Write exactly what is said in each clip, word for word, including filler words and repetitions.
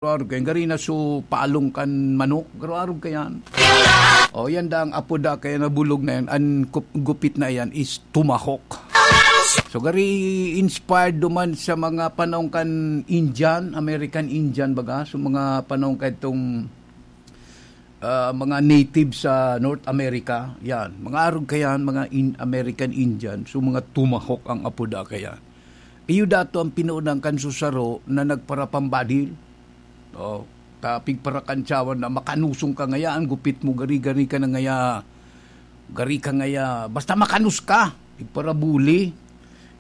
Garo-arog kayan, gari na su palong kan manok, garo-arog kayan. O, yan da ang apo da kaya na bulog na yan, an kup-, gupit na yan is tumahok. So, gari inspired duman sa mga panahon kan Indian, American Indian baga, so mga panahon kan itong, ah, mga native sa North America, yan. Mga arog kayan, mga in-, American Indian, so mga tumahok ang apo da kayan. Iyo dato ang pinuunang kan susaro na nagparapambadil. Oh, ta pigparakantsawan na makanusong ka ngaya, ang gupit mo gari-gari ka na ngaya, gari ka ngaya, basta makanus ka, pigparabuli.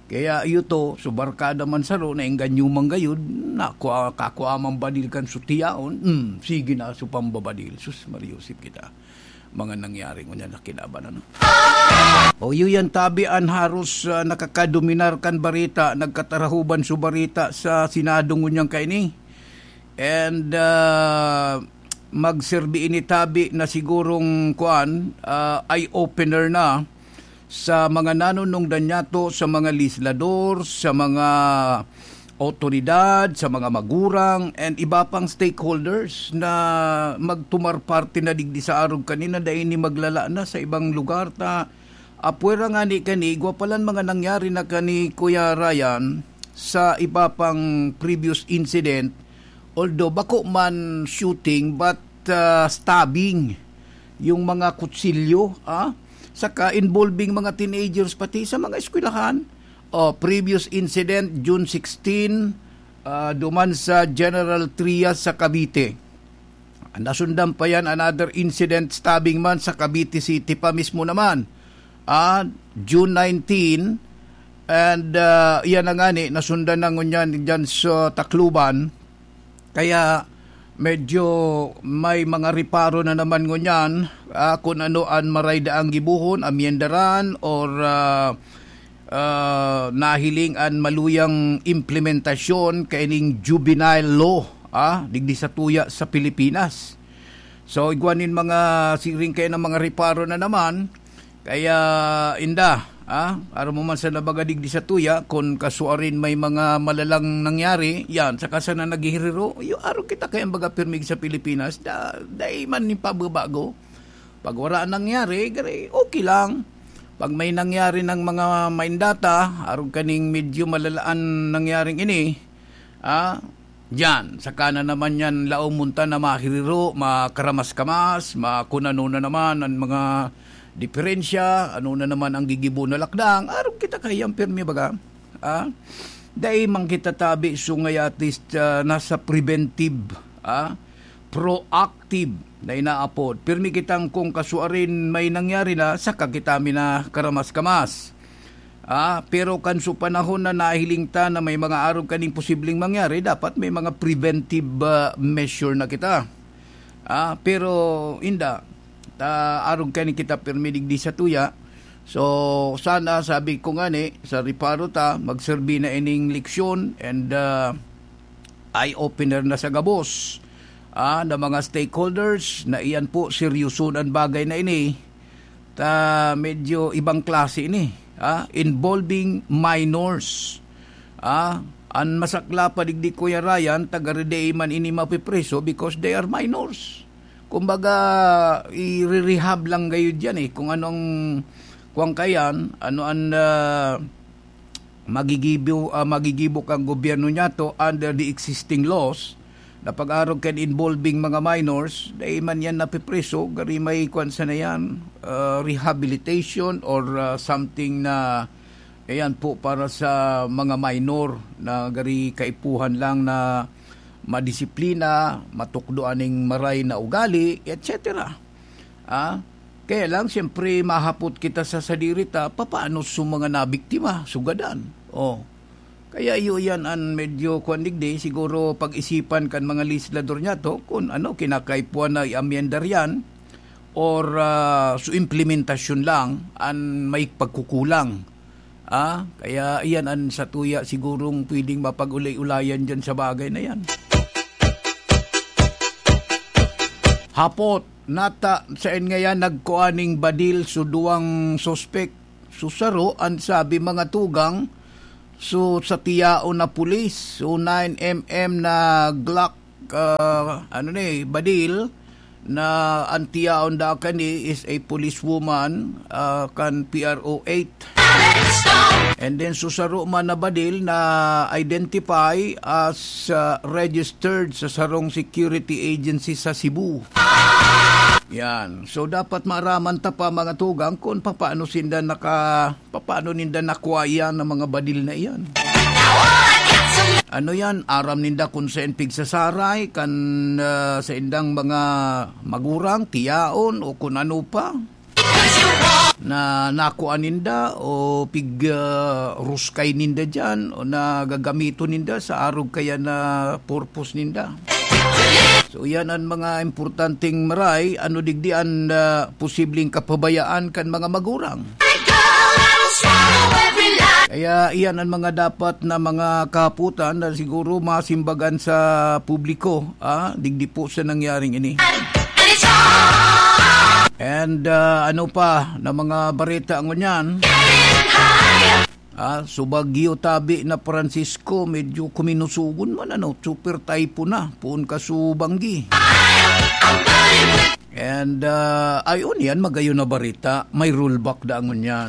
Kaya iyo to, so barkada man saro, na engganyo man gayud, na kua-, kakua man badil kan sutiyaon, hmm, sige na, so pambabadil. Sus, Maria Josep kita. Mga nangyari ngunyan na kinaban, ano? O, iyo yan, tabi an haros, ah, nakakadominar kan barita, nagkatarahuban so barita sa Senado ngunyan kaini. And, ah, magserbi ini tabi na sigurong, kuan, ah, eye-opener na sa mga nanunungdan niyato, sa mga legislador, sa mga awtoridad, sa mga magurang, and iba pang stakeholders na magtumar parte na digdi sa arog kanina, dai ini maglala na sa ibang lugar. Ta, apwera ngani kani, igwa palan mga nangyari na kani Kuya Ryan sa iba pang previous incident, although bako man shooting, but, ah, stabbing, yung mga kutsilyo, ah, saka involving mga teenagers, pati sa mga eskwelahan. O, previous incident, June sixteen, ah, duman sa General Trias sa Cavite. Nasundan pa yan, another incident, stabbing man sa Cavite City pa mismo naman. Ah, June nineteen, and, ah, iyan na ngani, nasundan na ngunyan dyan sa Tacloban. Kaya medyo may mga reparo na naman ngunyan, ah, kun ano an maray daang gibohon, amyendaran, or, ah, ah, nahiling an maluyang implementasyon kaining juvenile law, ah, digdi sa tuya sa Pilipinas. So, igwa nin mga siring kayo ng mga reparo na naman, kaya inda, ah, aram mo man sa nabaga digdi sa tuya, kun kasuarin may mga malalang nangyari, yan, saka sana naghihiriro, yung araw kita kaya baga pirmig sa Pilipinas, da, dai man ni pababago. Pag wala nangyari, gari, okay lang. Pag may nangyari ng mga maindata, arog kaning medyo malalaan nangyaring ini, ah, diyan, saka na naman yan laom munta na mahiriro, makaramas-kamas, ma-, kun ano na naman ang mga diferensya, ano na naman ang gigibo na lakdang, arog kita kayang pirmi baga. Ah, dai man kita tabi, so ngayatis, ah, nasa preventive, ah, proactive na inaapod. Pirmi kitang kung kasuarin may nangyari na, saka kita mi na karamas-kamas. Ah, pero kan sa panahon na nahiling ta na may mga arog kaning posibleng mangyari, dapat may mga preventive, ah, measure na kita. Ah, pero inda, ta arog kani kita pirmi digdi sa tuya. So, sana, sabi ko ngani, sa reparo ta, magserbi na ining leksyon and, ah, eye-opener na sa gabos, ah, na mga stakeholders na iyan po, seryoso an bagay na ini. Ta medyo ibang klase ini, ah, involving minors. Ah, an masakla pa digdi, Kuya Ryan, taga Rede man ini mapipreso because they are minors. Kumbaga, i-rehab lang gayud yan eh. Kung anong, kuwang kayan, ano ang, ah, magigibo, ah, magigibo kang gobyerno niya to under the existing laws, na pag-arog kan involving mga minors, dai man yan napipreso, gari may kwan sana yan, ah, rehabilitation or, ah, something na, ayan po, para sa mga minor na gari kaipuhan lang na madisiplina, matukdo aning maray na ugali, et cetera. Ah, kaya lang, siyempre, mahapot kita sa sadiri ta, papaano sa mga nabiktima, sugadan? Oh. Kaya iyo yan an medyo kwan digdi, siguro pag-isipan kan mga legislador niya to, kung ano, kinakaipuan na i-amyendar yan, or, ah, sa implementasyon lang, an may pagkukulang. Ah, kaya iyan an satuya sigurong pwedeng mapag-ulay-ulayan diyan sa bagay na yan. Hapot, nata, saen ngayan nagkua ning badil so duwang suspek? So saro, an sabi mga tugang, so sa tiyaon na pulis, so nine M M na Glock ah, ano ni, badil, na an tiyaon da kani is a policewoman, ah, kan P R O eight. And then, so saro man na badil na identify as, ah, registered sa sarong security agency sa Cebu. Yan. So, dapat maaraman ta pa, mga tugang, kung papaano sinda naka, papaano ninda nakwa yan, ang mga badil na iyan. Ano yan? Aram ninda kung saan pigsasaray, kan, ah, sa indang mga magurang, tiyaon, o kung ano pa na nakuha ninda o pig, ah, ruskay ninda dyan o na gagamiton ninda sa arog kaya na purpose ninda. So, yan ang mga importanteng maray. Ano digdi an, ah, posibleng kapabayaan kan mga magurang? Kaya iyan ang mga dapat na mga kahapotan na siguro masimbagan sa publiko, ah, digdi po sa nangyaring ini. And, ah, ano pa na mga bareta ngunyan? Ah, so Bagyo tabi na Francisco, medyo kuminusugon man, ano, super typhoon na, poon ka subanggi. And, ah, ayun, yan, magayon na barita. May rollback da ngunyan.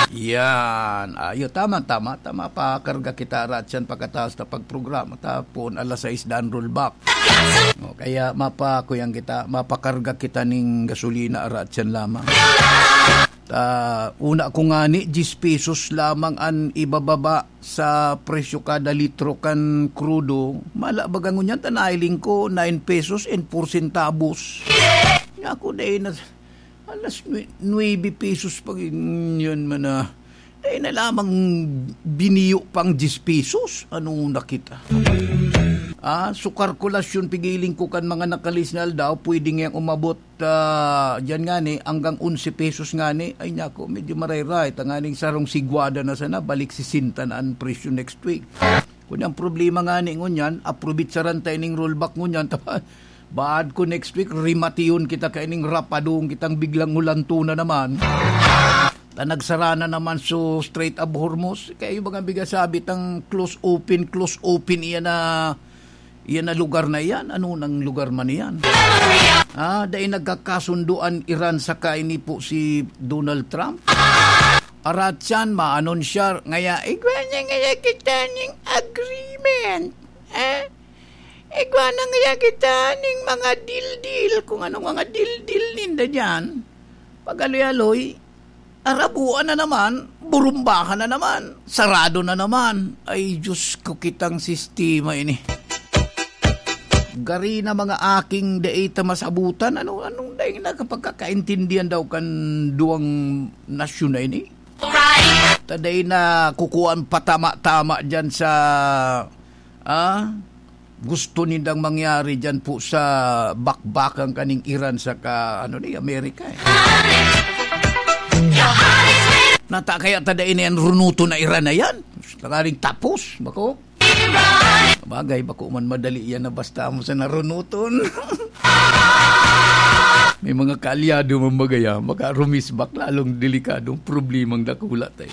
Yan. Ayo, tama, tama, tama. Pakarga kita, Ratchan, pagkataas na pagprograma. Tapon, alas sais daan rollback. O, kaya mapa, kuyang kita, mapakarga kita ning gasolina, Ratchan lamang. Ta, una ko ngani, diyes pesos lamang an ibababa sa presyo kada litro kan krudo. Mala baga ngunyan, ta nailing ko, nine pesos and four centavos. Nga ako, dai na, alas nue-, nuebe pesos pa, yan man na. Dai na lamang biniyo pang diyes pesos. Ano na kita? Ah, so kalkulasyon, pigiling ko kan mga nakalis na aldaw, pwede ngayang umabot ah, diyan ngani, hanggang onse pesos ngani, ay nako, medyo marayray. Tanganing sarong sigwada na sana, balik sesenta na an presyo next week. Kun ang problema ngani ngunyan, aprobitsaran ta ining rollback ngunyan, ta, baad ko next week, rimatiyon kita kaining rapadong kitang biglang hulanto na naman. Ta nagsara na naman so Strait of Hormuz. Kaya yung mga bigasabi tang close open, close open, iyan na Iyan na lugar na iyan, ano nang lugar man iyan? Ah, dai nagkakasundo an Iran saka ini po si Donald Trump. Arat siyan, maanonsyar, ngaya, igwa niya ngaya kita ning agreement. Eh? Igwa na ngaya kita ning mga deal-deal, kung anong mga deal-deal ninda diyan. Pag-aloy-aloy, arabuan na naman, burumbahan na naman, sarado na naman. Ay, Diyos ko, kitang sistema ini. Gari na mga aking dai ta masabutan, ano, anong dai na kapagkakaintindihan daw kan duwang nasyon na ini? Ta dai na kukuan patama-tama dyan sa, ah, gusto nindang mangyari dyan po sa bakbakan kaning Iran saka, ano ni, Amerika, eh. Nata kaya ta dai na yan runuton na Iran na yan? Tanganing tapos, bako? Bagay, bako man madali yan na basta mo sa narunuton. May mga kaalyado man bagay, ah. Baka rumisbak, lalong delikadong problemang dakula tayo.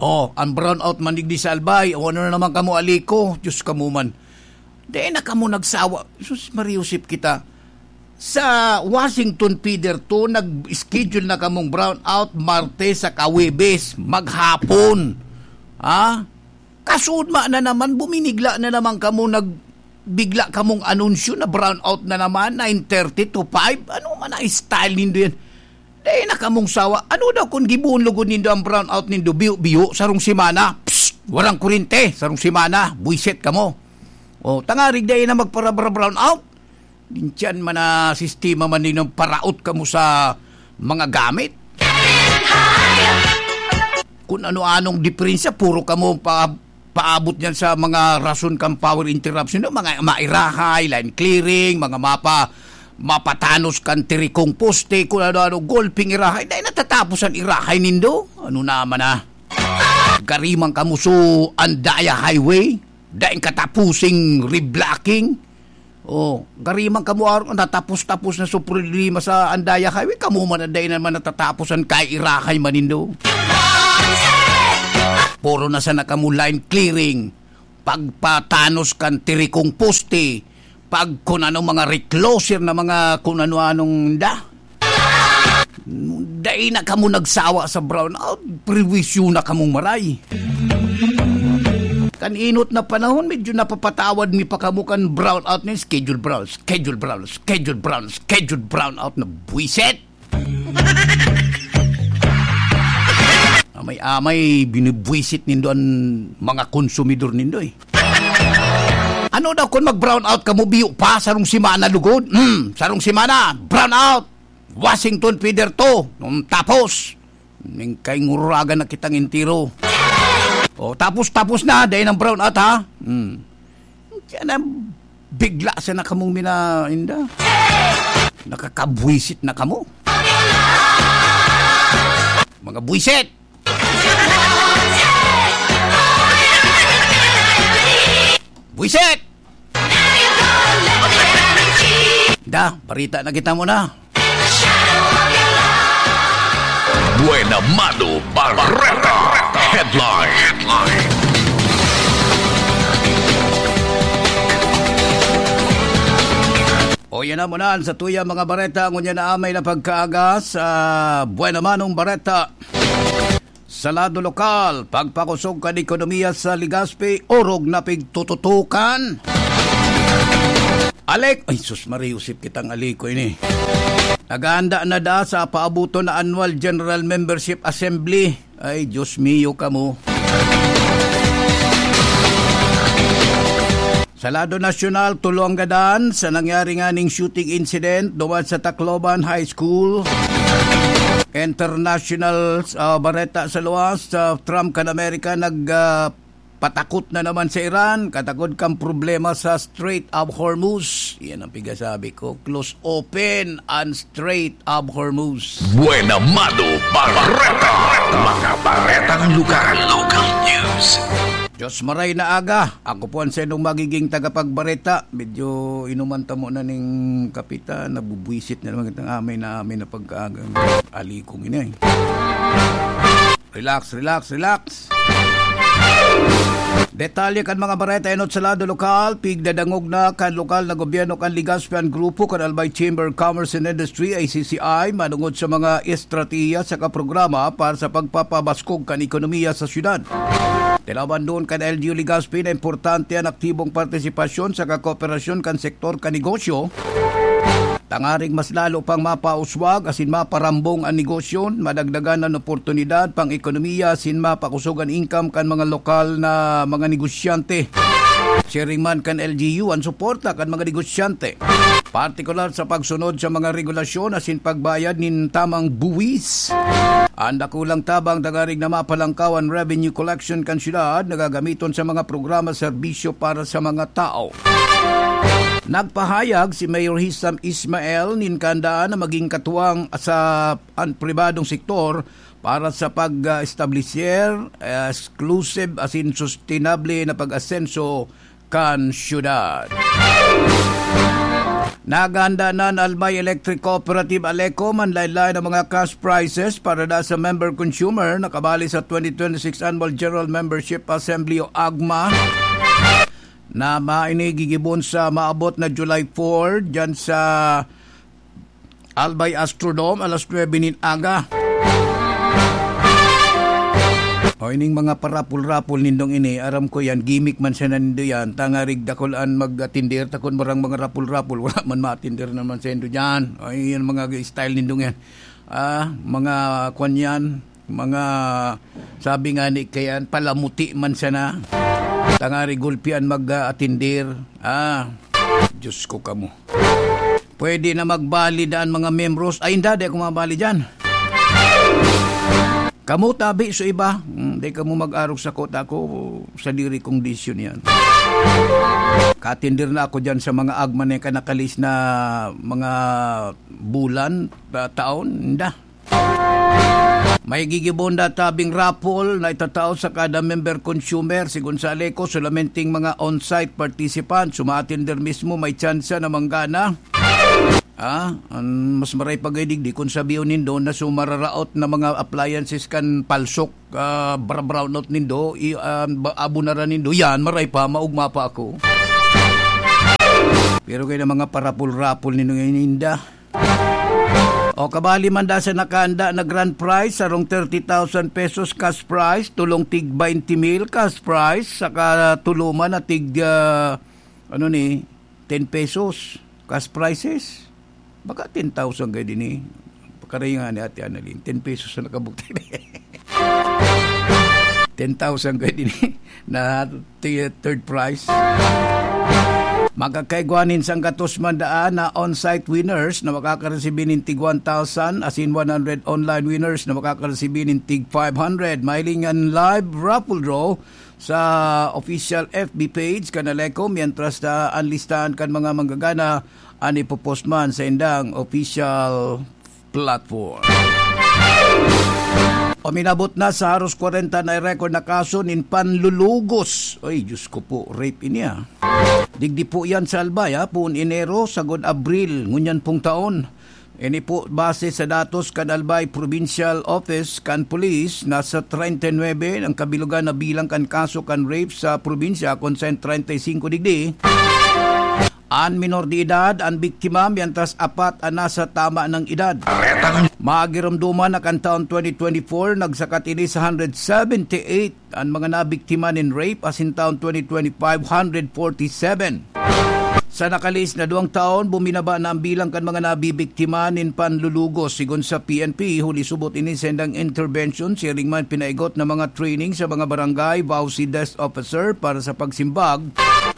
Oh, ang brownout man digdi sa Albay. O ano na naman kamo, Aliko? Diyos kamo man. Di na kamo nagsawa. Sus, Mariusip kita. Sa Washington Feeder two, nag-schedule na kamong brownout Martes sa Kawebes, maghapon. Ha? Kasudma na naman, buminigla na naman kamo, nagbigla kamong anunsyo na brownout na naman, nine thirty to five. Ano man ang style nindo yan? Dai na kamong sawa. Ano daw kung gibohon lugod nindo ang brownout nindo, biyo-biyo, sarong semana? Psst! Warang kurente, sarong semana, buwisit kamo. O, tangarig dai na magpara-, brownout. Diyan man na sistema man din ang paraot kamo sa mga gamit. Kung ano-anong diferensya, puro kamo pa paabot niyan sa mga rason kan power interruption, no? Mga mairahay, line clearing, mga mapa-, mapatanos kan tirikong poste, kung ano-ano, golping irahay. Dai natatapos an irahay nindo. Ano naman na? Gariman kamuso ang Daya Highway. Daing katapusing reblocking. Oh, gariman kamo aron natapos-tapos na so problema sa Andaya Highway. Kamo man ang dai naman natatapos an kairahay manindo. Puro na sana kamo line clearing. pagpatanos kan tirikong poste, pag kun ano mga recloser na mga kun ano-anong da. Dai na kamo nagsawa sa brownout, perwisyo na kamong maray. Kan inot na panahon, medyo napapatawad mi pa kamo kan brownout na schedule brown, schedule brown, schedule brown, schedule brownout na buwisit. Amay-amay, binibwisit nindo an mga konsumidor nindo eh. Ano daw kun mag-brown out kamo, biyo pa, sarong semana lugod? Hmm, sarong semana, brown out. Washington Feather two. Hmm, tapos, ning kainguragan na kitang entero. O, tapos, tapos na, dahil ng brown out, ha? Hmm. Kaya na, bigla sana kamong minainda. Nakakabwisit na kamo. Mga bwisit! Buwisit! Da, barita na kita muna. Buena Mano Barreta. Headline. O yan na muna sa tuya mga bareta. Ngunyan na amay na pagkaaga sa Buena Manong Barreta. Sa lado lokal, pagpakusog kan ekonomiya sa Legazpi, orog na pigtututukan. Alek, ay sus, Maria Josep kitang aliko ini. Naghahanda na da sa paabuton na Annual General Membership Assembly. Ay, Diyos mio kamo. Sa lado nasyonal, tulo ang gadan sa nangyari nganing shooting incident duman sa Tacloban High School. International, ah, bareta sa luwas, sa Trump kan Amerika nag, ah, patakot na naman sa Iran, katakod kan problema sa Strait of Hormuz. Yan ang pigasabi ko. Close open ang Strait of Hormuz. Buena Mano Barreta. Mga baretang lugar. Local news. Diyos maray na aga. Ako po ang saindong magiging tagapagbareta. Medyo inuman tamo na ning kapitan. Nabubwisit na naman kitang amay na amay na pagkaaga. Alikong ini. Relax, relax, relax. Detalye kan mga bareta enot sa lado lokal, pigdadangog na kan lokal na gobyerno kan Legazpi an grupo kan Albay Chamber of Commerce and Industry, A C C I, manungod sa mga estratehiya saka programa para sa pagpapabaskog kan ekonomiya sa syudad. Tinawan duon kan L G U Legazpi na importante an aktibong partisipasyon saka kooperasyon kan sektor kan negosyo, tangaring mas lalo pang mapauswag asin maparambong an negosyo, madagdagan an oportunidad pang ekonomiya asin mapakosog an income kan mga lokal na mga negosyante. Siring man kan L G U an suporta kan mga negosyante, partikular sa pagsunod sa mga regulasyon asin pagbayad nin tamang buwis. An dakulang tabang tangaring na mapalangkaw an revenue collection kan syudad na gagamiton sa mga programa serbisyo para sa mga tao. Nagpahayag si Mayor Hisam Ismael nin kahandaan na maging katuwang sa an pribadong sektor para sa pag-establisher, exclusive asin sustainable na pag-asenso kan syudad. Naghahanda na an Albay Electric Cooperative Aleco manlaen-laen na mga cash prizes para da sa member consumer na kabali sa twenty twenty-six Annual General Membership Assembly o AGMA na maini gigibon sa maabot na July four dyan sa Albay Astrodome, alas nuebe nin aga. O, ining mga parapol-rapol nindong ini, aram ko yan, gimmick man sana nindo yan. Tangarig dakul an mag-atender, takon barang mga rapol-rapol, wala man ma-atender naman sa indo dyan. O, yan mga style nindong yan. Ah, mga kwan yan, mga, sabi nga ni kayan, palamuti man sana. Tangarig gulpian mag-atender. Ah, Diyos ko kamo. Pwede na magbali daan mga membros. Ay, hindi, di ako mabali dyan. Kamo tabi sa iba. Hmm, di kamo mag-arog sa kota ko, sa diri kong desisyon yan. Katindir na ako dyan sa mga agman na kanakalis na mga bulan, ah, taon. Hindi. May gigibon na tabing raffle na itatao sa kada member consumer. Sigon sa Aleco, solamente ang mga on-site participants, umaatender mismo, may tsansa na manggana. Ah, an mas maray pa gay digdi kun sabihon nindo na so mararaot na mga appliances kan palsok, ah, bra-, brownout nindo, i-, ah, ba-, abunaran nindo, yan, maray pa, maugma pa ako. Pero kaya na mga parapol-rapol nindo ngayon, Inda. O, kabali man da sa nakaanda na grand prize, sarong thirty thousand pesos cash prize, tulong tig twenty mil cash prize, saka tulo man na tig, ah, ano ni, ten pesos cash prizes. Baka ten thousand kayo din eh. Pakaringan ni Ate Annalyn, ten pesos na nakabukti. Ten thousand kayo din eh. Na ti-, third prize. Makakaigwa nin sanggatos man daan na on-site winners na makakaresibi nin tig one thousand, asin one hundred online winners na makakaresibi nin tig five hundred. Mahiling an live raffle draw sa official F B page kan Aleco, mientras na an listahan kan mga manggagana an ipopost man sa indang official platform. Uminabot na sa haros kwarenta na record na kaso nin panlulugos. Ay, Diyos ko po, rape ini ah. Digdi po yan sa Albay, ha? Poon Enero, sagod Abril, ngunyan pong taon. Ini po, base sa datos kan Albay Provincial Office kan Police, nasa treinta y nuebe ang kabilugan na bilang kan kaso kan rape sa probinsya, kun saen treinta y cinco digdi an minor de edad, an biktima, mientras apat an nasa tama ng edad. Magiromdoman na kan taon twenty twenty-four, nagsakat ini sa hundred seventy-eight an mga nabiktima nin rape, asin taon twenty twenty-five, hundred forty-seven. Sa nakalihis na duwang taon, buminaba na ang bilang kan mga nabibiktima nin panlulugos. Sigon sa P N P, huli subot ini sa indang intervention, siring man pinaigot na mga training sa mga barangay, V A U C desk officer para sa pagsimbag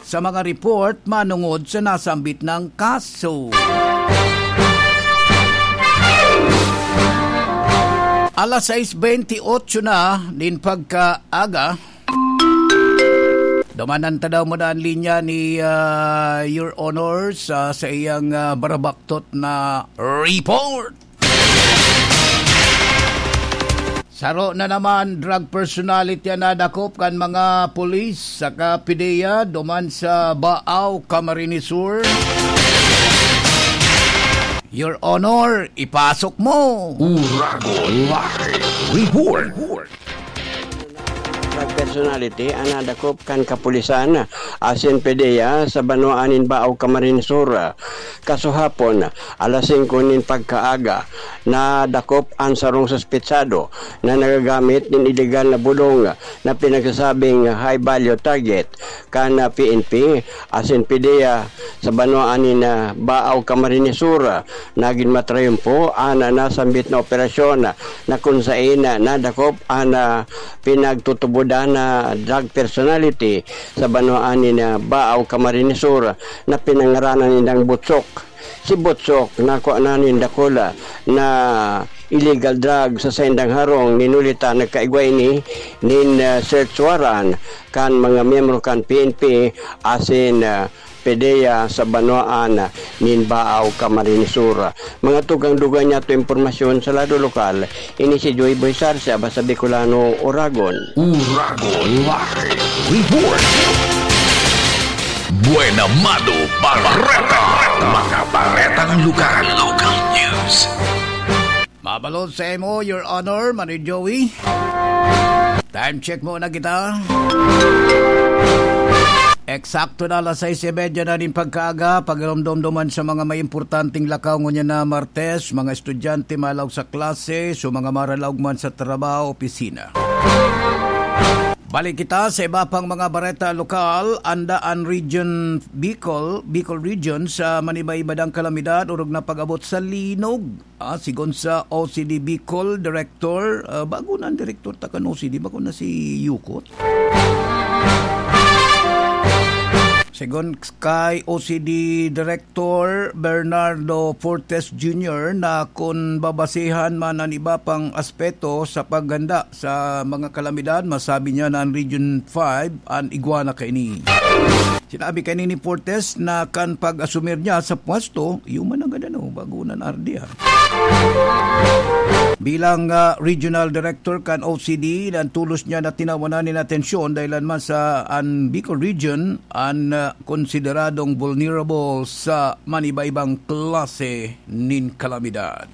sa mga report manungod sa nasambit nang kaso. Alas sais bentiocho na nin pagkaaga. Dumanan ta daw muna an linya ni, ah, Your Honor sa, sa iyang, ah, barabaktot na report. Saro na naman, drug personality an nadakop kan mga pulis saka PDEA duman sa Baao, Camarines Sur. Your Honor, ipasok mo! Uragon Live Report. Drug personality an nadakop kan kapulisan asin PDEA sa banwaan nin Baao, Camarines Sur. Kasuhapon, alas singko nin pagkaaga, nadakop an sarong suspetsado na nagagamit nin iligal na bulong na pinagsasabing high value target kan, ah, P N P asin PDEA sa banwaan nin, ah, Baao, Camarines Sur. Nagin matrayumpo an, ah, nasambit na operasyon na kun saen, ah, nadakop an, ah, pinagtutubodan na drug personality sa banwaan nin, ah, Baao, Camarines Sur na pinangaranan nindang Butsok. Si Butsok nakua na nin dakula na illegal drug sa saindang harong, nin huli ta nagkaigwa ini nin, ah, search warrant kan mga miyembro kan P N P asin, ah, PDEA sa banwaan nin Baao, Camarines Sur. Mga tugang-dugang niyato impormasyon sa lado lokal, ini si Joy Boy Sarce, Aba sa Bicolano, Uragon. Uragon Live Report. Buena Mano Bareta. Mga baretang lugar. Local news. Mabalot sa imo, Your Honor, Manoy Joey. Time check muna kita. Eksakto na alas sais y media na nin pagkaaga, pagiromdom duman sa mga may importanteng lakaw ngunyan na Martes, mga estudyante malaog sa klase, so mga maralaog man sa trabaho, opisina. Balik kita sa iba pang mga bareta lokal, anda an Region Bicol, Bicol Region sa maniba-iba dang kalamidad, orog na pag-abot sa linog. Ah, sigon sa O C D Bicol Director, ah, bago na ang direktor ta kan O C D, bago na si Yukot. Sigon kay O C D Director Bernardo Fortes Junior na kun babasihan man an iba pang aspeto sa paghanda sa mga kalamidad, masabi niya na an Region five an igwa na kaini. Sinabi kaini ni Fortes na kan pag-asumir niya sa pwesto, iyo man ang gadano, bago nan R D R. Bilang, ah, Regional Director kan O C D, nantulos niya na tinawanan nin atensyon dahil man sa an Bicol Region, an, ah, konsideradong vulnerable sa manibaibang klase nin kalamidad.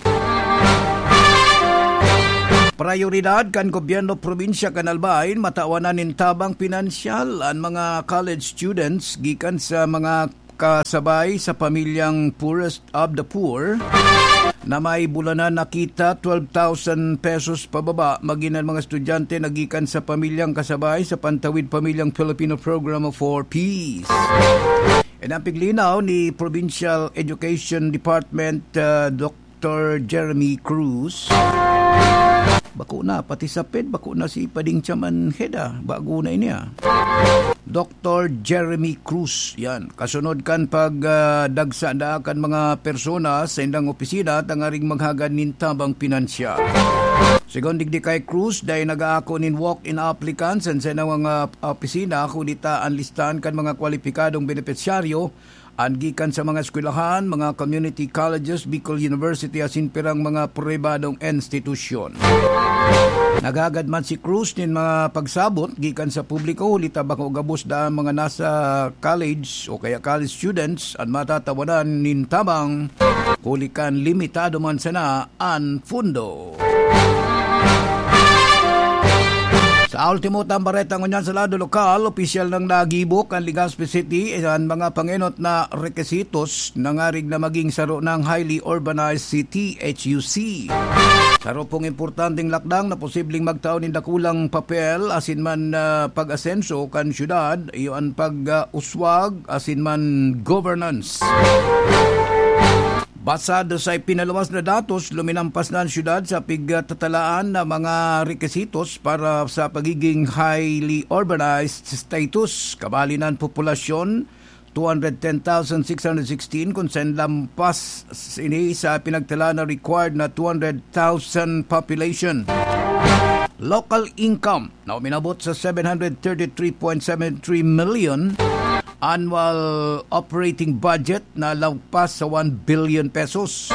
Prayoridad kan gobyerno probinsya kan Albay, matawan na nin tabang pinansyal an mga college students gikan sa mga kasabay sa pamilyang poorest of the poor na may bulanan na kita twelve thousand pesos pababa, magin an mga estudyante na gikan sa pamilyang kasabay sa Pantawid Pamilyang Filipino Program for Peace. Yan ang piglinaw ni Provincial Education Department, uh, Doctor Jeremy Cruz. Bako na, pati sa ped, bako na si Pading Chaman Heda. Bago na ini, ah. Doctor Jeremy Cruz, yan. Kasunod kan pag, ah, dagsa na kan mga persona sa indang opisina tangaring maghagad nin tabang pinansyal. Segun digdi kay Cruz, dai nag-aako nin walk-in applicants an sa mga opisina, kundi ta an listahan kan mga kwalipikadong benepisyaryo an gikan sa mga eskwelahan, mga community colleges, Bicol University asin pirang mga pribadong institusyon. Naghagad man si Cruz nin mga pagsabot gikan sa publiko, huli ta bako gabos daa mga nasa college o kaya college students an matatawanan nin tabang huli kan limitado man sana an pundo. Sa ultimo tang bareta ngunyan sa lado lokal, opisyal nang nagibo kan Legazpi City an mga pangenot na rekisitos na ngarig na maging saro ng highly urbanized city, H U C. Saro pong importanteng lakdang na posibleng magtao nin dakulang papel asin man, ah, pag-asenso kan syudad, iyo an pag-uswag asin man governance. Basado sa ipinaluwas na datos, luminampas na an syudad sa pigtatalaan na mga rekisitos para sa pagiging highly urbanized status. Kabali na an populasyon, two hundred ten thousand six hundred sixteen, kun saen lampas ini sa pinagtala na required na two hundred thousand population. Local income na uminabot sa seven hundred thirty-three point seven three million, annual operating budget na lagpas sa one billion pesos.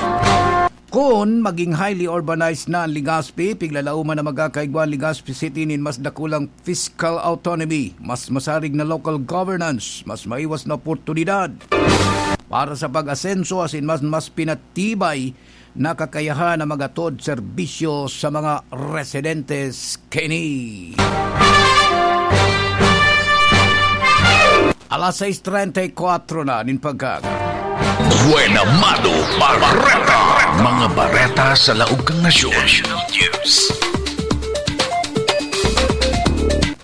Kun maging highly urbanized na an Legazpi, piglalauman na magkakaigwa an Legazpi City nin mas dakulang fiscal autonomy, mas masarig na local governance, mas maiwas na oportunidad para sa pag-asenso asin mas, mas pinatibay na kakayahan na magatod serbisyo sa mga residentes kini. Alas sais treinta y cuatro na nin pagkaga. Buena Mano Bareta. Mga bareta sa laog kan nasyon. National News.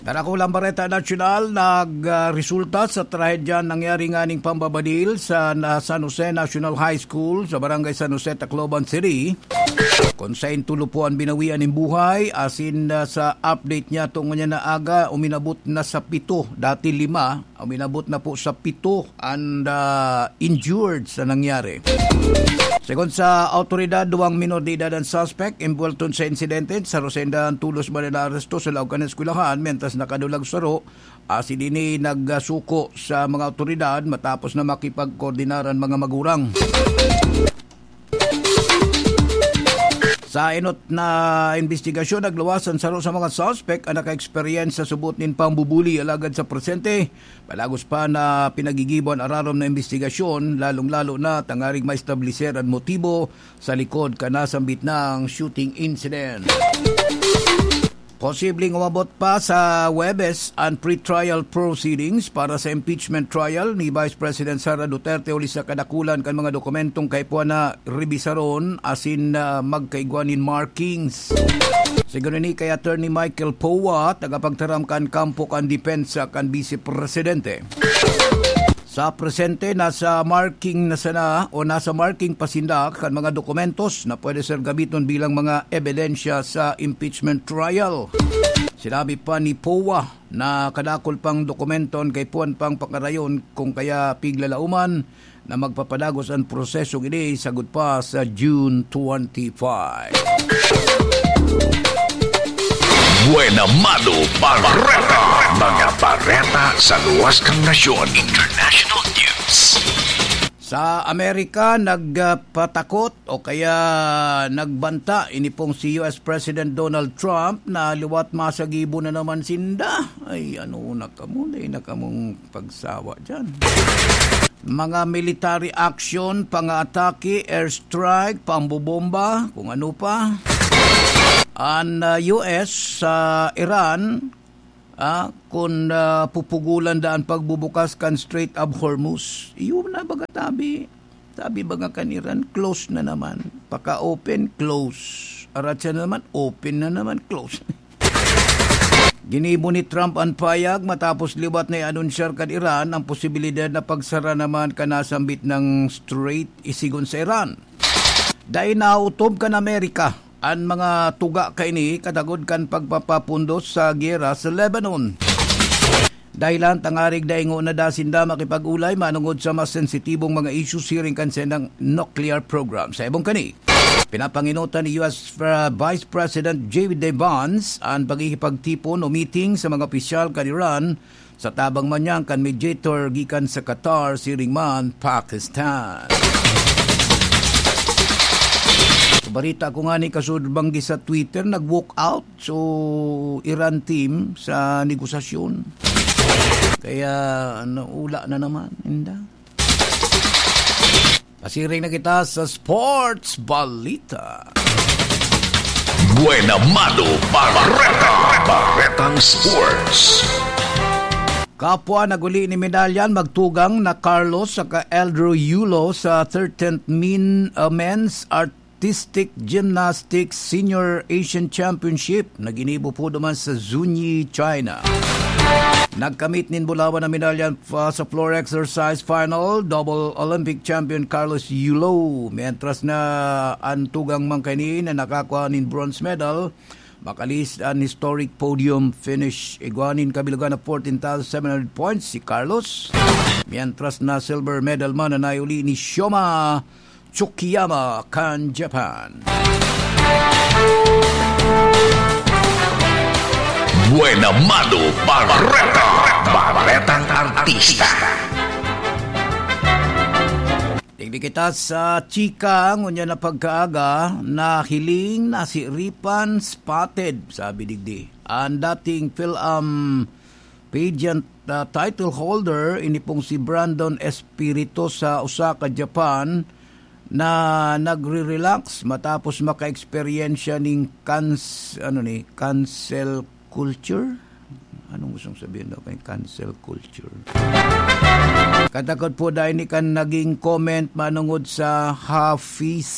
Darakulang bareta nasyonal, nag, ah, resulta sa trahedya nangyari nganing pambabadil sa na-, San Jose National High School sa Barangay San Jose, Tacloban City, kun saen tulo po an binawian nin buhay, asin, ah, sa update niya tungo niya na aga, uminabot na sa pito, dati lima, uminabot na po sa pito an, ah, injured sa nangyari. Segun sa awtoridad, duwang minor de edad an suspect involved sa insidente. Saro sainda an tolos man na naaresto sa laog kan eskwelahan, mientras nakadulag saro, asin ini nagsuko sa mga awtoridad matapos na makipagkoordinar an mga magurang. Sa enot na imbestigasyon, nagluwas an saro sa mga suspek an naka-experience sa subot nin pambubuli, alagad sa presente, palagos pa na pinagigibo an ararom na imbestigasyon, lalong-lalo na tangaring maestableser an motibo sa likod kan nasambit na shooting incident. Posibleng umabot pa sa Huwebes an pre-trial proceedings para sa impeachment trial ni Vice President Sara Duterte huli sa kadakulan kan mga dokumentong kaipuhan na rebisaron asin, ah, magkaigwa nin markings. Segun ini kay Attorney Michael Poa, tagapagtaram kan kampo kan depensa kan Bise Presidente. Sa presente, nasa marking na sana o nasa marking pa sinda kan mga dokumentos na pwede sir gamiton bilang mga ebidensya sa impeachment trial. Sinabi pa ni Poa na kadakul pang dokumento an kaipuhan pang pakarayon, kung kaya piglalauman na magpapadagos an prosesong ini sagkod pa sa June twenty-five. Buena Mano Bareta. Mga bareta sa luwas kan nasyon. International News. Sa Amerika, nagpatakot o kaya nagbanta ini pong si U S President Donald Trump na liwat masagibo na naman sinda. Ay, ano na kamo, dai na kamong pagsawa dyan. Mga military action, pangaatake, airstrike, pambobomba, kung ano pa. An, ah, U S sa Iran, ah, kun, ah, pupugulan da an pagbubukas kan Strait of Hormuz. Iyo na baga tabi. Tabi baga kan Iran, close na naman. Paka-open, close. Aratsa na naman, open na naman, close. Ginibo ni Trump an payag matapos liwat na i-anunsyar kan Iran ang posibilidad na pagsara naman kan nasambit na strait isigon sa Iran. Dai nautob kan Amerika an mga tuga kaini katagod kan pagpapapundos sa giyera sa Lebanon. Dahilan tangarig dai ngona da sinda makipag-olay manongod sa mas sensitibong mga issues siring kan saindang nuclear program. Sa ibong kani, pinapanginutan ni U S Vice President J D Vance an pagkikipagtipon o meeting sa mga opisyal kan Iran sa tabang man niyan kan mediator gikan sa Qatar siring man Pakistan. Sa balita ko ngani, kasud banggi sa Twitter, nag-walk out so Iran team sa negosasyon. Kaya naula na naman, inda. Pasiring na kita sa sports balita. Buena Mano Bareta. Baretang Sports. Kapwa naguli ni medalyan magtugang na Carlos saka Eldro Yulo sa thirteenth Min, uh, Men's Artistic Gymnastics Senior Asian Championship na ginibo po duman sa Zunyi, China. Nagkamit nin bulawan na medalya pa sa floor exercise final, double Olympic champion Carlos Yulo. Mientras na an tugang man kaini na nakakua nin bronze medal, makalihis an historic podium finish. Igwa nin kabilugan na fourteen thousand seven hundred points si Carlos. Mientras na silver medal man na naiuli ni Shoma Tsukiyama kan Japan. Buena Mano Bareta. Baretang Artista. Digdi kita sa chika, ngunyan na pagkaaga, nahiling, nasiripan, spotted, sabi digdi. Ang dating Phil-Am pageant, ah, title holder, ini pong si Brandon Espirito sa Osaka, Japan, na nagre-relax matapos maka-eksperyensya ning cans-, ano ni, cancel culture? Anong gustong sabihin daw kay cancel culture? Katakot po dahil ni kan naging comment manungod sa Hafiz.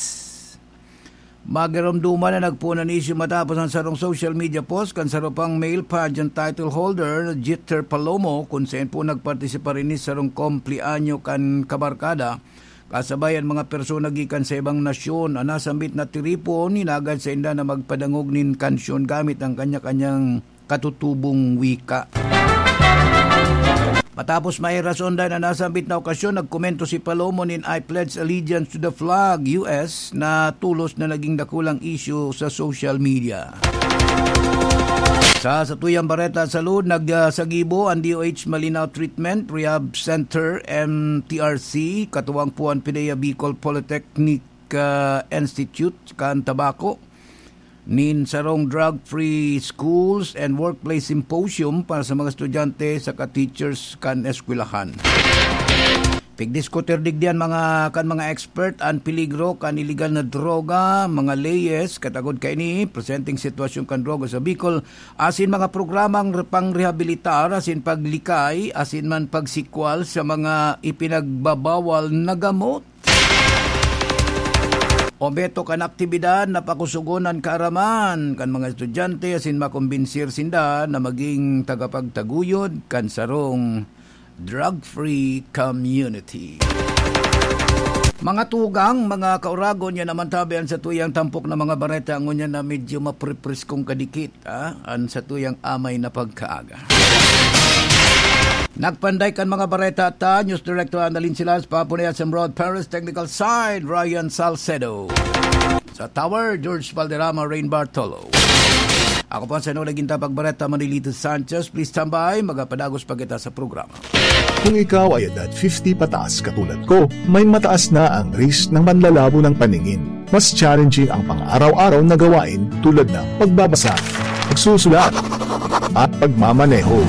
Magiromduman na nagpoon an isyu matapos ang sarong social media post kan saro pang male pageant title holder na Jeter Palomo, kung saen po nagpartisipar ini sarong kumpleanyo kan kabarkada, kasabay an mga persona gikan sa ibang nasyon. An nasambit na tiripon, hinagad sainda na magpadangog nin kansyon gamit ang kanya-kanyang katutubong wika. Matapos mairason dahil na nasambit na okasyon, nagkomento si Palomo nin "I pledge allegiance to the flag, U S" na tolos na naging dakulang isyu sa social media. Sa satuyang bareta sa lud, nagsagibo ang D O H Malinao Treatment Rehab Center, M T R C, katuwang po ang PDEA Bicol Polytechnic, ah, Institute kan Tabaco nin sarong drug-free schools and workplace symposium para sa mga estudyante saka teachers kan eskwelahan. Pigdiskutir digdi an mga, kan mga expert an peligro kan iligal na droga, mga leyes katagod kaini, presenteng sitwasyon kan droga sa Bicol, asin mga programang re-, pangrehabilitar asin paglikay asin man pagsikwal sa mga ipinagbabawal na gamot. Obheto kan aktibidad na pakusugon an kaaraman kan mga estudyante asin makombinsir sinda na maging tagapagtaguyod kan sarong drug-free community. Mga tugang, mga kauragon, yan naman tabi an satuyang tampok na mga bareta ngunyan na medyo mapripriskong kadikit. Ah, an satuyang amay na pagkaaga. Nagpanday kan mga bareta ta, News Director Annalyn Silas, Papo na S M Rod Perez, technical side, Ryan Salcedo. Sa Tower, George Valderrama, Rain Bartolo. Ako po ang Senador Ginta Pagbareta, Manilito Sanchez. Please stand by, magapadagos pa kita sa programa. Kung ikaw ay edad fifty pataas katulad ko, may mataas na ang risk ng panlalabo ng paningin. Mas challenging ang pang-araw-araw na gawain tulad ng pagbabasa, pagsusulat, at pagmamaneho.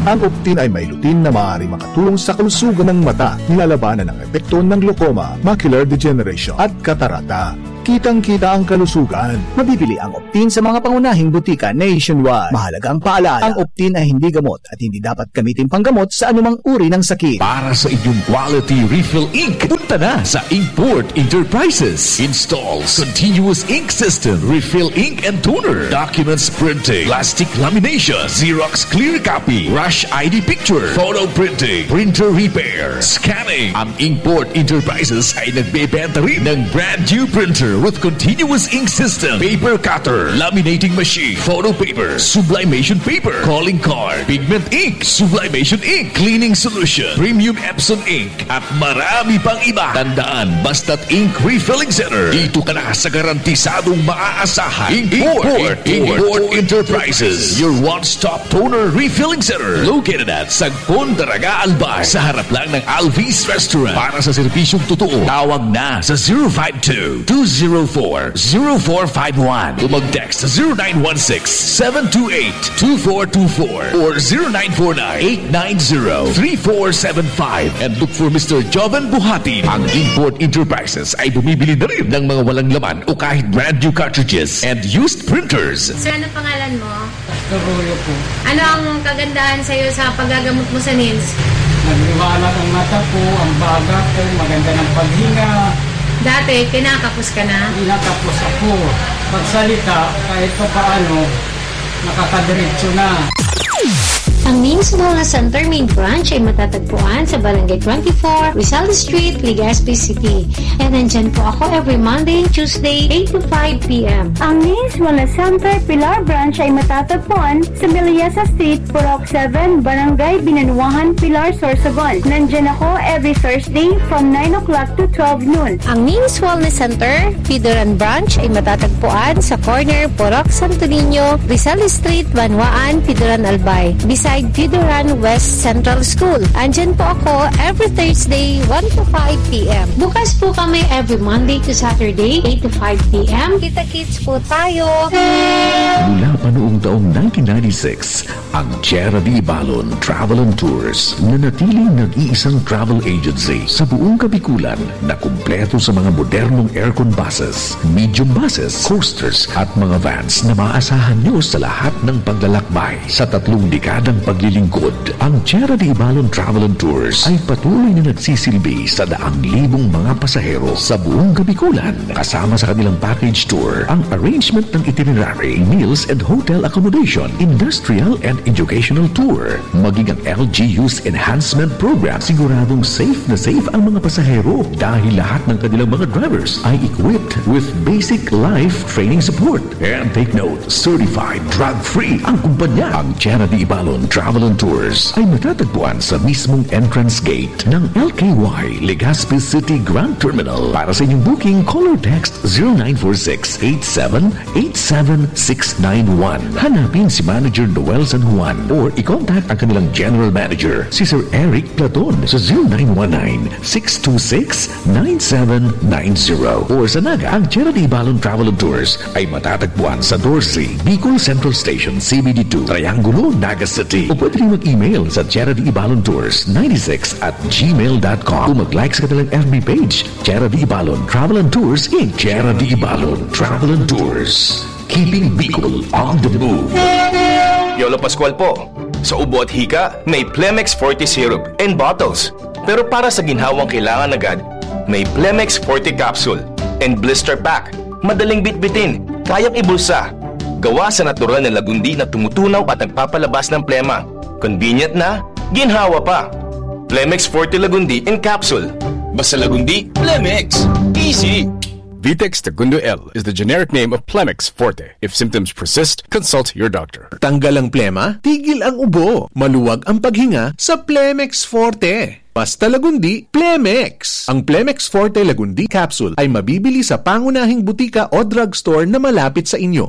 Ang Optin ay may lutein na maaari makatulong sa kalusugan ng mata, nilalabanan ang epekto ng glaucoma, macular degeneration, at katarata. Kitang-kita ang kalusugan. Mabibili ang Optin sa mga pangunahing butika nationwide. Mahalagang paalala, ang Optin ay hindi gamot at hindi dapat gamitin panggamot sa anumang uri ng sakit. Para sa inyong quality refill ink, punta na sa Inkport Enterprises. Installs continuous ink system, refill ink and toner, documents printing, plastic lamination, Xerox clear copy, rush I D picture, photo printing, printer repair, scanning. Ang Inkport Enterprises ay nagbebenta rin ng brand new printer with continuous ink system, paper cutter, laminating machine, photo paper, sublimation paper, calling card, pigment ink, sublimation ink, cleaning solution, premium Epson ink, at marami pang iba. Tandaan, basta't ink refilling center, dito ka na sa garantisadong maaasahan. Inkport, Inkport Enterprises, your one-stop toner refilling center, located at Sagpon, Daraga, Albay, sa harap lang ng Alvis Restaurant. Para sa serbisyong totoo, tawag na sa zero five two, two zero four, zero four five one o mag-text sa zero nine one six, seven two eight, two four two four or zero nine four nine, eight nine zero, three four seven five and look for Mister Joven Buhatin. Ang Inkport Enterprises ay bumibili na rin ng mga walang laman o kahit brand new cartridges and used printers. Sir, ano pangalan mo? Pastor Royo po. Ano ang kagandahan sa'yo sa paggagamot mo sa nins? Nagliwanag ang mata ko, ang baga ko, maganda ng paghinga. Dati, kinakapos ka na? Kinakapos ako. Pagsalita, kahit pa paano, nakakadiretso na. Ang Nins Wellness Center main branch ay matatagpuan sa Barangay twenty-four, Rizal Street, Legazpi City. And nandyan po ako every Monday and Tuesday, eight to five p m. Ang Nins Wellness Center Pilar Branch ay matatagpuan sa Melissa Street, Purok seven, Barangay Binanuahan, Pilar, Sorsogon. Nandyan ako every Thursday from nine o'clock to twelve noon. Ang Nins Wellness Center, Pidoran Branch ay matatagpuan sa corner Purok Santo Niño, Rizal Street, Banwaan, Pidoran, Albay, beside Pidoran West Central School. Andyan po ako every Thursday, one to five p m. Bukas po kami every Monday to Saturday, eight to five p m. Kita-kits po tayo! Mula pa noong taong nineteen ninety-six, ang Tierra de Ibalon Travel and Tours nanatiling nag-iisang travel agency sa buong Kabikulan na kumpleto sa mga modernong aircon buses, medium buses, coasters at mga vans na maaasahan nyo sa lahat ng paglalakbay. Sa tatlong dekadang paglilingkod, ang Tierra de Ibalon Travel and Tours ay patuloy na nagsisilbi sa daang libong mga pasahero sa buong Kabikulan, kasama sa kanilang package tour, ang arrangement ng itinerary, meals and hotel accommodation, industrial and educational tour, maging ang L G U's enhancement program. Siguradong safe na safe ang mga pasahero dahil lahat ng kanilang mga drivers ay equipped with basic life training support. And take note, certified drug-free ang kumpanya. Ang Tierra de Ibalon Travel and Tours ay matatagpuan sa mismong entrance gate ng L K Y Legazpi City Grand Terminal. Para sa inyong booking, call or text zero nine four six eight seven eight seven six nine one. Hanapin si Manager Noel San Juan or i-contact ang kanilang General Manager, si Sir Eric Platon, sa zero nine one nine six two six nine seven nine zero. Or sa Naga, ang Tierra de Ibalon Travel and Tours ay matatagpuan sa Dorsey, Bicol Central Station, C B D two, Triangulo, Naga City. O pwede rin mag-email sa Tierra de Ibalon Tours ninety-six at gmail dot com o mag-like sa kanilang F B page, Tierra de Ibalon Travel and Tours, Incorporated. Tierra de Ibalon Travel and Tours, keeping Bicol on the move. Yolo Pascual po. Sa ubo at hika, may Plemex Forte Syrup and Bottles. Pero para sa ginhawang kailangan agad, may Plemex Forte Capsule and Blister Pack. Madaling bitbitin, kayang ibulsa. Gawa sa natural na lagundi na tumutunaw at nagpapalabas ng plema. Convenient na, ginhawa pa. Plemex Forte Lagundi in Capsule. Basta Lagundi, Plemex. Easy. Vitex Tagundo L is the generic name of Plemex Forte. If symptoms persist, consult your doctor. Tanggal ang plema, tigil ang ubo, maluwag ang paghinga sa Plemex Forte. Basta Lagundi, Plemex! Ang Plemex Forte Lagundi Capsule ay mabibili sa pangunahing butika o drugstore na malapit sa inyo.